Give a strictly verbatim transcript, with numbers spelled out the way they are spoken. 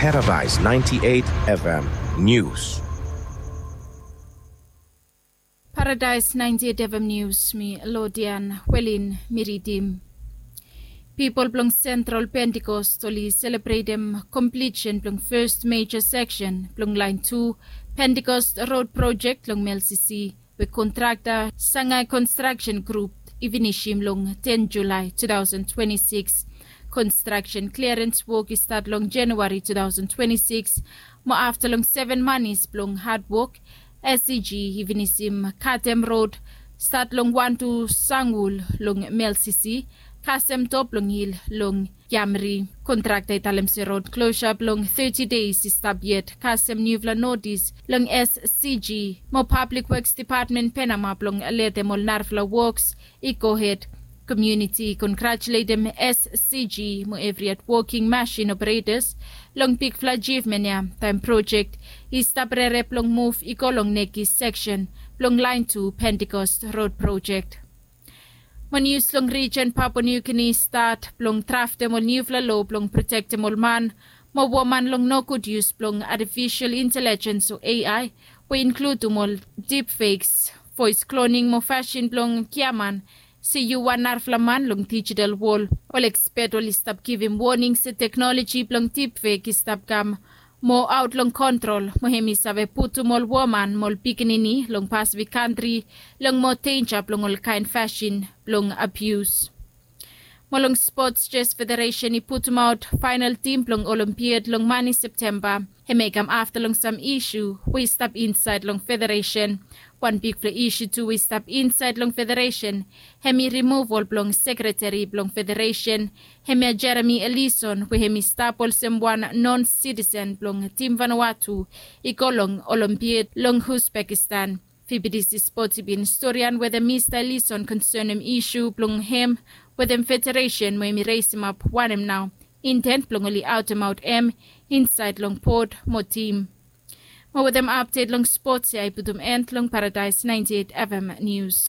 Paradise ninety-eight F M News. Paradise ninety-eight F M News, mi Lodian Welin mi ridim. Pipol blong Central Pentecost oli selebretem komplisen blong first major section blong lain tu Pentecost Road Project long Melsisi, we kontrakta Sangai Construction Group i finisim long ten Julai two thousand twenty-six. Construction clearance wok i stat long January two thousand twenty-six, mo afta long seven manis blong hadwok, S C G i finisim katem rod stat long wan tu Sangul long Melsisi, kasem top long hil long Yamri. Kontrakta i talem se rod klosa blong thirty days i stap yet kasem niufala notis long S C G, mo Public Works Department penama blong letem ol narafala woks i gohed. Komuniti i kongratuletem S C G mo evri hedwoking masin operetas long bigfala ajivmen ya, taem projek i stap rerep long muv i go long nekis seksen blong laen tu Pentekost Rod Projek. Mo nius long rijen Papua Niu Gini i stat blong draftem ol niufala loa blong protektem ol man mo woman long nogud yus blong atifisol intelejens o A I, we i inkludum ol dipfeks, voes kloning mo fasin blong giaman se yu wan narafala man long dijital wol. Ol ekspet oli stap givim woning se teknoloji blong dipfek i stap kam moa aot long kontrol, mo hem i save putum ol woman mo ol pikinini long Pasifik kantri long moa denja blong ol kaen fasin blong abius. Mo long spots, Jes Federesen i putumaot faenol tim blong Olimpiad long mani Septemba. Hem i kam afta long sam isu we i stap insaed long federesen. Wan bigfala isu tu we i stap insaed long federesen, hem i rimuval blong sekreteri blong federesen, hemia Jeremy Ellison, we hem i stap olsem wan non sitisen blong tim Vanuatu i go long Olimpiad long Uzbekistan. Fibidisi Spots i bin storian wetem Mista Ellison konsenem isu blong hem wetem federesen mo hem i resemap wanem nao intent blong oli aotemaot hem insaed long pod mo tim. Mo wetem apdet long spots ya i putum end long Paradise ninety-eight F M News.